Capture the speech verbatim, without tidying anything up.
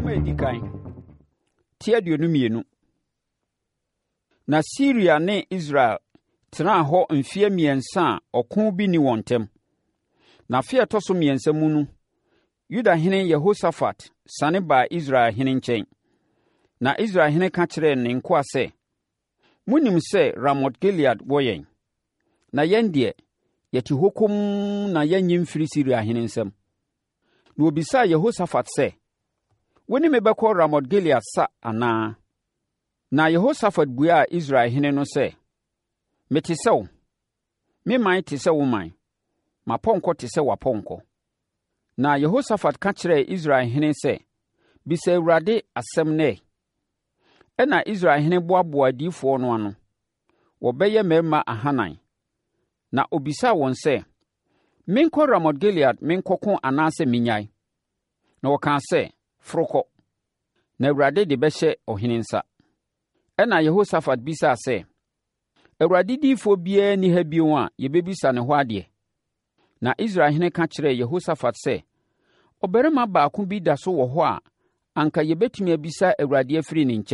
Nwoma a ɛdi kan, ti aduonu mmienu. Na Siria ne Israel tenaa hɔ mfeɛ mmiɛnsa a ɔko bi nni wɔn ntam. Na afe a ɛtɔ so mmiɛnsa mu no, Yudahene Yehosafat sane baa Israel hene nkyɛn. Na Israel hene ka kyerɛɛ ne nkoa sɛ, “Monim sɛ Ramot-Gilead wɔ yɛn, na yɛn deɛ, yɛte hɔ komm na yɛnnye mfiri Siriahene nsam.” Na wɔbisaa Yehosafat sɛ, “Wo ne me bɛkɔ Ramot-Gilead sa anaa?” Na Yehosafat buaa Israel hene no sɛ, “Mete sɛ wo. Me man te sɛ wo man. M'apɔnkɔ te sɛ w'apɔnkɔ.” Na Yehosafat ka kyerɛɛ Israel hene sɛ, “Bisa Awurade asɛm nnɛ.” Ɛnna Israel hene boaboaa adiyifoɔ no ano, wɔbɛyɛ mmarima ahanan, na ɔbisaa wɔn sɛ, “Menkɔ Ramot-Gilead menkɔko anaasɛ mennyae?” Na wɔkaa sɛ, “Foro kɔ, na Awurade de bɛhyɛ ɔhene nsa.” Ɛnna Yehosafat bisaa sɛ, Awurade diyifoɔ biara nni ha bio a yɛbɛbisa ne hɔ adeɛ? Na Israel hene ka kyerɛɛ Yehosafat sɛ, “Ɔbarima baako bi da so wɔ hɔ a anka yɛbɛtumi abisa Awurade afiri ne nkyɛn.